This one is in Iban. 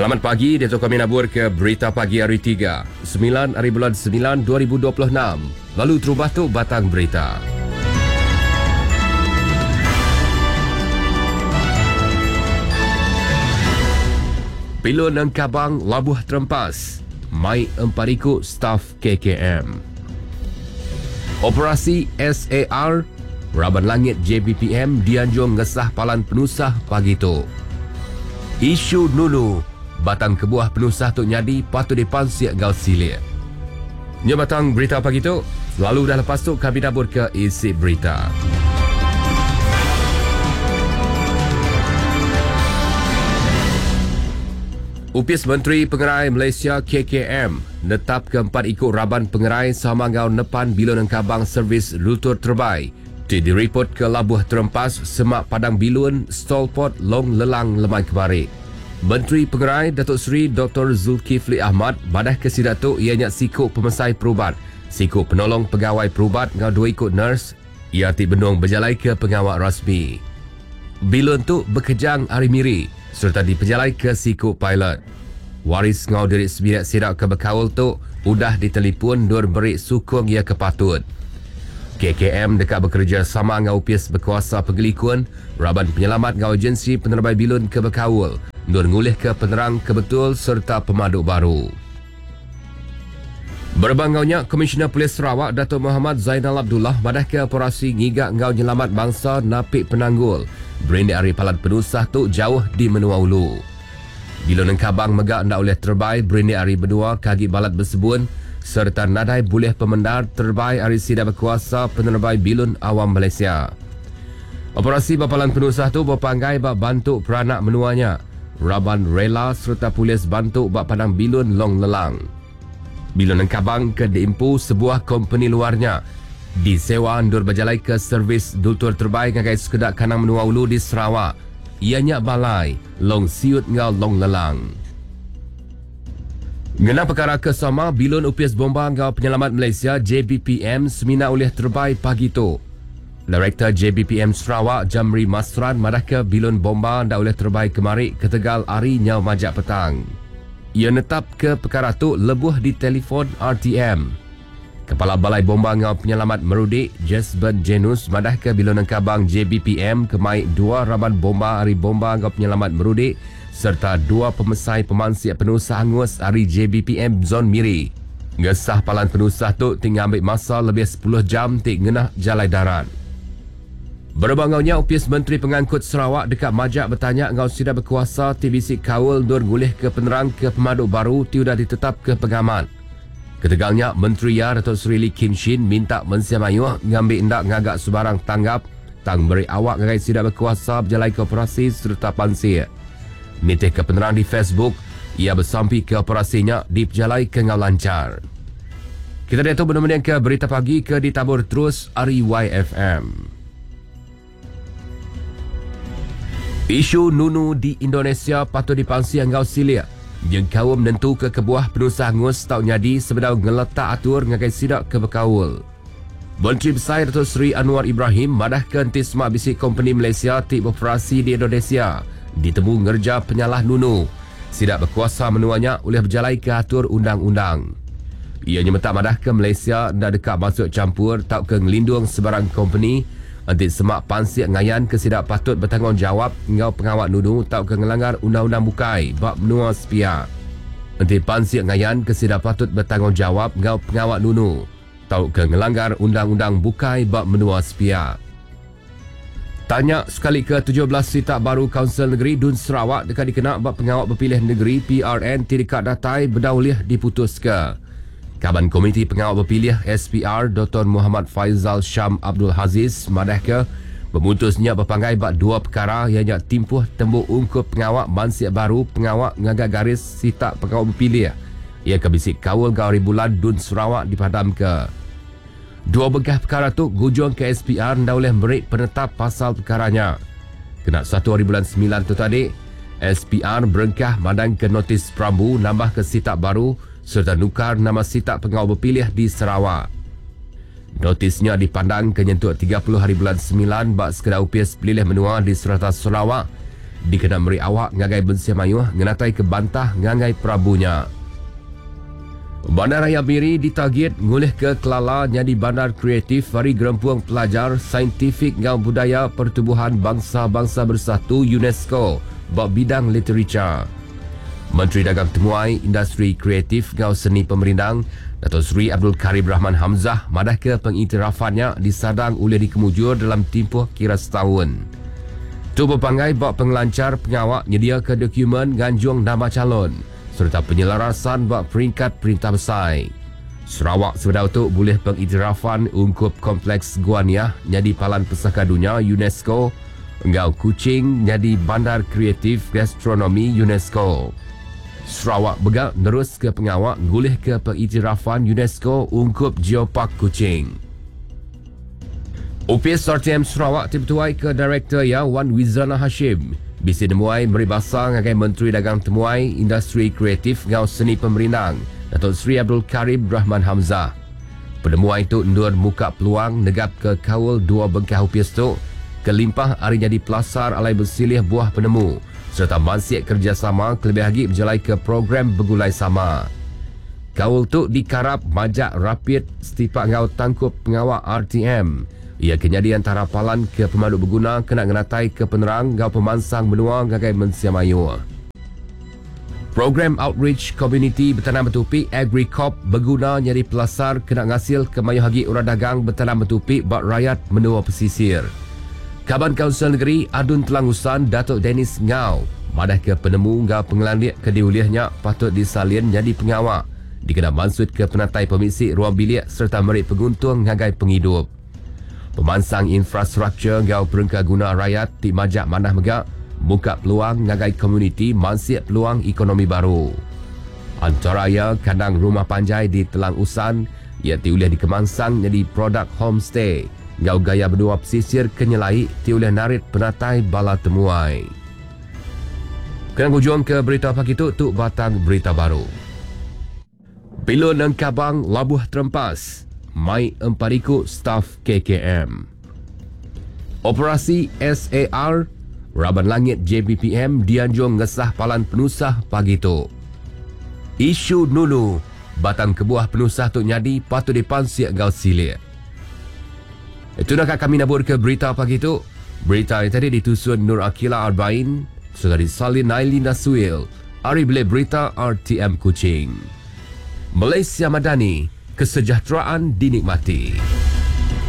Selamat pagi, diatu kami nabur ke Berita Pagi Hari 3, 9 hari bulan 9 2026. Lalu terubah tu batang berita. Pilun Engkabang labuh terempas, mai empat iku staf KKM. Operasi SAR Raban Langit JBPM dianjung ngesah palan penusah pagi tu. Isu nunu batang kebuah penusah tu nyadi patut dipansik enggau silik. Nya batang berita pagi tu, lalu udah lepas tu kami nabur ke isi berita. Opis Menteri Pengerai Malaysia KKM netapka empat iku raban pengerai sama enggau nepan bilun engkabang servis lutur terebai ti diripotka labuh terempas semak padang bilun Stolport Long Lelang lemai kemari. Menteri Pengerai Datuk Seri Doktor Zulkifli Ahmad madahka sida tu iya nya siku pemesai perubat, siku penolong pegawai perubat enggau dua iku nurse iya ti benung bejalaika pengawa rasmi. Bilun tu bekejang ari Miri sereta dipejalaika siku pilot. Waris enggau diri sebilik sida ke bekaul tu udah ditelipun endur meri sukung iya ke patut. KKM deka bekerejasama enggau Opis Bekuasa Pengelikun, Raban Penyelamat enggau Agensi Penerebai Bilun ke bekaul endur ngulihka penerang ke betul sereta pemadu baru. Berebak enggau nya, Komisioner Polis Sarawak Datuk Mohamad Zainal Abdullah madahka operasi ngiga enggau nyelamat bansa napi penanggul berindik ari palan penusah tu jauh di menua ulu. Bilun Engkabang mega enda ulih terebai berindik ari menua ke agi balat besebun sereta nadai bulih pemendar terebai ari sida bekuasa penerebai bilun awam Malaysia. Operasi ba palan penusah tu bepanggai ba bantu peranak menua nya. Raban rela sereta polis bantu ba padang bilun Long Lelang. Bilun Engkabang ke diempu sebuah kompeni luar nya disewa endur bejalaika servis dultur terebai ngagai sekeda kandang menua ulu di Sarawak, iya nya Balai, Long Siut enggau Long Lelang. Ngena pekara ke sama, bilun Opis Bomba enggau Penyelamat Malaysia, JBPM, semina ulih terebai pagi tu. Direktor JBPM Sarawak Jamri Masran madahka bilun bomba enda ulih terebai kemari ketegal hari nyau majak petang. Iya netapka pekara tu lebuh ditelefon RTM. Kepala Balai Bomba enggau Penyelamat Merudi, Jesben Jenus madahka bilun engkabang JBPM ke mai dua raban bomba ari Bomba enggau Penyelamat Merudi sereta dua pemesai pemansik penusah angus ari JBPM Zon Miri. Ngesah palan penusah tu ti ngambi masa lebih sepuluh jam ti ngena jalai darat. Berebak enggau nya, Opis Menteri Pengangkut Sarawak deka majak betanya enggau sida bekuasa ti bisi kaul endur ngulihka penerang ke pemadu baru ti udah ditetapka pengamat. Ketegal nya, Menteri iya Datuk Seri Lee Kim Shin minta mensia mayuh ngambi enda ngaga sebarang tanggap tang meri awak ngagai sida bekuasa bejalaika operasi sereta pansik. Nitihka penerang di Facebook, iya besampika operasi nya dipejalaika enggau lanchar. Kita diatu benung mendingka Berita Pagi ke ditabur terus ari YFM. Isu nunu di Indonesia patut dipansik enggau silik nyengkaum nentuka kebuah penusah angus tau nyadi sebedau ngeletak atur ngagai sida ke bekaul. Menteri Besai Datuk Seri Anwar Ibrahim madahka enti sema bisi kompeni Malaysia ti beoperasi di Indonesia ditemu ngereja penyalah nunu, sida bekuasa menua nya ulih bejalaika atur undang-undang. Iya nyemetak madahka Malaysia enda deka masuk champur tauka ngelindung sebarang kompeni enti sema pansik ngayanka sida patut betanggungjawap enggau pengawa nunu tauka ngelanggar undang-undang bukai ba menua sepiak. Enti pansik ngayanka sida patut betanggungjawap enggau pengawa nunu, tauka ngelanggar undang-undang bukai ba menua sepiak. Tanya sekalika 17 sitak baru Kaunsil Negeri Dun Sarawak deka dikena ba pengawa bepilih negeri PRN ti deka datai bedau ulih diputuska. Kaban Komiti Pengawa Bepilih SPR Doktor Muhammad Faizal Sham Abdul Haziz madahka pemutus nya bepanggai ba dua pekara iya nya timpuh tembu ungkup pengawa mansik baru pengawa ngaga garis sitak pengawa bepilih Iya ke bisi kaul enggau hari bulan Dun Sarawak dipadamka. Dua bengkah pekara tu ngujungka SPR enda ulih meri penetap pasal pekara nya. Kena satu hari bulan semilan tu tadi, SPR berengkah mandangka notis perambu nambahka sitak baru sereta nukar nama sitak pengawa bepilih di Sarawak. Notis nya dipandangka nyentuk 30 hari bulan semilan ba sekeda opis pelilih menua di serata Sarawak. dikena meri awak ngagai mensia mayuh ngenataika bantah ngagai perambu nya. Bandaraya Miri ditagit ngulihka kelala nyadi bandar kreatif ari Gerempung Pelajar, Saintifik enggau Budaya Pertubuhan Bangsa-Bangsa Bersatu, UNESCO, ba bidang litericha. Menteri Dagang Temuai, Industri Kreatif enggau Seni Pemerindang, Dato Sri Abdul Karim Rahman Hamzah madahka pengiktirafan nya disadang ulih dikemujur dalam timpuh kira setaun. Tu bepanggai ba pengelanchar pengawa nyediaka dokumen nganjung nama chalon sereta penyelarasan ba peringkat perintah besai. Sarawak sebedau tu bulih pengiktirafan ungkup Kompleks Gua Niah nyadi Palan Pesaka Dunya UNESCO enggau Kuching nyadi Bandar Kreatif Gastronomi UNESCO. Sarawak mega neruska pengawa ngulihka pengiktirafan UNESCO ungkup Geopark Kuching. Opis RTM Sarawak ti betuaika Direktor iya Wan Wizana Hashim bisi nemuai meri basa ngagai Menteri Dagang Temuai, Industri Kreatif enggau Seni Pemerindang, Dato Sri Abdul Karim Rahman Hamzah. Penemuai tu endur muka peluang negapka kaul dua bengkah opis tu kelimpah ari nyadi pelasar alai besilih buah penemu sereta mansik kerejasama kelebih agi bejalaika program begulai sama. Kaul tu dikarap majak rapit setipak enggau tangkup pengawa RTM iya ke nyadi antara palan ke pemadu beguna kena ngenataika penerang enggau pemansang menua ngagai mensia mayuh. Program Outreach Komuniti Betanam Betupi AgriCorp beguna nyadi pelasar kena ngasilka mayuh agi orang dagang betanam betupi ba rayat menua pesisir. Kaban Kaunsil Negeri Adun Telang Usan Datuk Dennis Ngau madahka penemu enggau pengelandik ke diulih nya patut disalin nyadi pengawa dikena mansutka penatai pemisi ruang bilik sereta meri penguntung ngagai pengidup. Pemansang infrastruktur enggau perengka guna rayat ti majak manah mega muka peluang ngagai komuniti mansik peluang ekonomi baru. Antara iya kandang rumah panjai di Telang Usan iya ti ulih dikemansang nyadi produk homestay enggau gaya menua pesisir ke nyelai ti ulih narit penatai bala temuai. Kena ngujungka berita pagi tu, tu batang berita baru. Bilun Engkabang labuh terempas mai empat iku staf KKM. Operasi SAR Raban Langit JBPM dianjung ngesah palan penusah pagi tu. Isu nunu batang kebuah penusah tu nyadi patut dipansik enggau silik. Itu naka kami naburka berita pagi tu. Berita yang tadi ditusun Nur Akila Arbain serta disalin Naili Nasuil ari Bilik Berita RTM Kuching. Malaysia Madani, kesejahteraan dinikmati.